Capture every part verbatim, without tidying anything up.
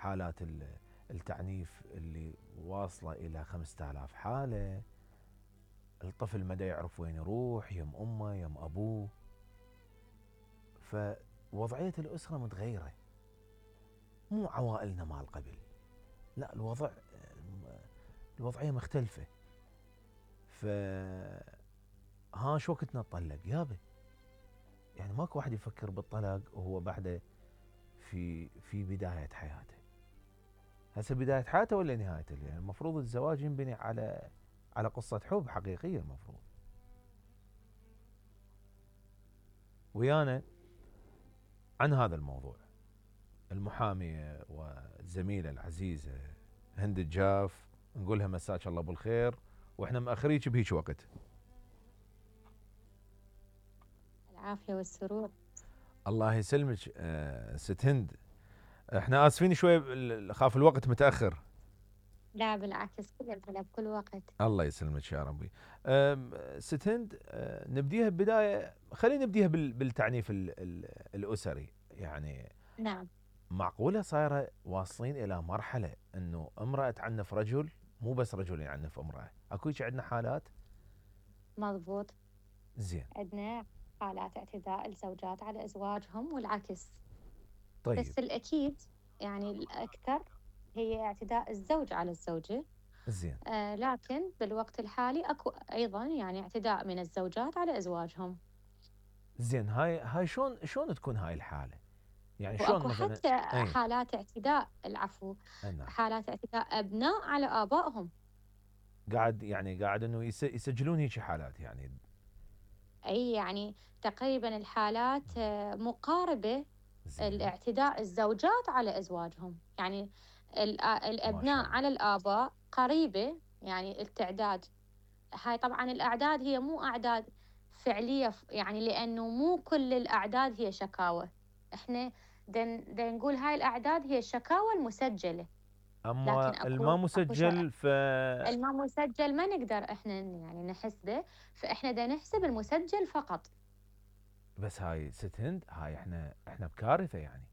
حالات التعنيف اللي واصلة إلى خمسة آلاف حالة. الطفل ما دا يعرف وين يروح، يم أمه يم أبوه. فوضعية الأسرة متغيرة، مو عوائلنا مال قبل، لا الوضع الوضعية مختلفة. ف ها شو وقت نطلق يابا؟ يعني ماكو واحد يفكر بالطلاق وهو بعده في في بداية حياته. هسه بداية حياته ولا نهايته؟ يعني المفروض الزواج ينبني على على قصة حب حقيقية المفروض. ويانا عن هذا الموضوع المحامية والزميلة العزيزة هند الجاف، نقولها مساك الله بالخير، واحنا مأخريك بهيك وقت. العافية والسرور. الله يسلمك ست هند، احنا اسفين شوي خاف الوقت متأخر. لا بالعكس، كل بكل وقت. الله يسلمك يا ربي. ست هند، نبديها ببداية، خلينا نبديها بالتعنيف الأسري. يعني نعم. معقولة صايرة واصلين إلى مرحلة أنه امرأة تعنف رجل، مو بس رجل يعنف امرأة؟ أكو هيك عندنا حالات؟ مضبوط. زين. عندنا حالات اعتداء الزوجات على أزواجهم والعكس. طيب. بس الأكيد يعني الأكثر هي اعتداء الزوج على الزوجة. زين. آه لكن بالوقت الحالي أكو أيضا يعني اعتداء من الزوجات على أزواجهم. زين. هاي هاي شلون شلون تكون هاي الحالة؟ يعني شلون واكو مثلا؟ حتى أي. حالات اعتداء، العفو، نعم. حالات اعتداء أبناء على آبائهم. قاعد يعني قاعد انه يسجلون هيك حالات يعني. اي يعني تقريبا الحالات مقاربة. زين. الاعتداء الزوجات على ازواجهم، يعني الابناء على الاباء قريبة، يعني التعداد. هاي طبعا الاعداد هي مو اعداد فعلية، يعني لانه مو كل الاعداد هي شكاوى. احنا دن, دن نقول هاي الاعداد هي الشكاوى المسجلة. لكن اما الما اكو اكو مسجل ف الما مسجل ما نقدر احنا يعني نحسبه، فاحنا دا نحسب المسجل فقط. بس هاي ست هند، هاي احنا احنا بكارثة يعني.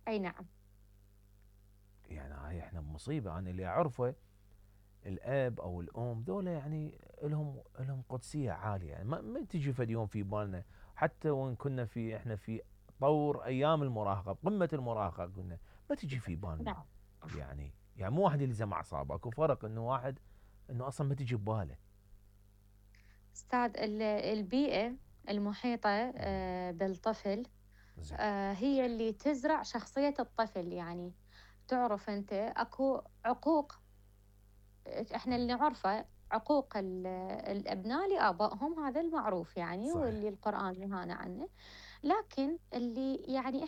اي نعم. يعني هاي احنا بمصيبة. انا اللي اعرفه الاب او الام ذولا يعني لهم لهم قدسية عالية، يعني ما, ما تجي فد يوم في بالنا، حتى وان كنا في احنا في طور ايام المراهقة بقمة المراهقة قلنا ما تجي في بالنا. نعم. يعني يعني مو واحد اللي زم اعصابه، اكو فرق انه واحد انه اصلا ما تجي بباله. استاذ، البيئة المحيطة آه، بالطفل زين. آه، هي اللي تزرع شخصية الطفل. يعني تعرف انت اكو عقوق، احنا اللي نعرفه عقوق الابناء لابائهم، هذا المعروف يعني، صحيح. واللي القرآن نهانا عنه. لكن اللي يعني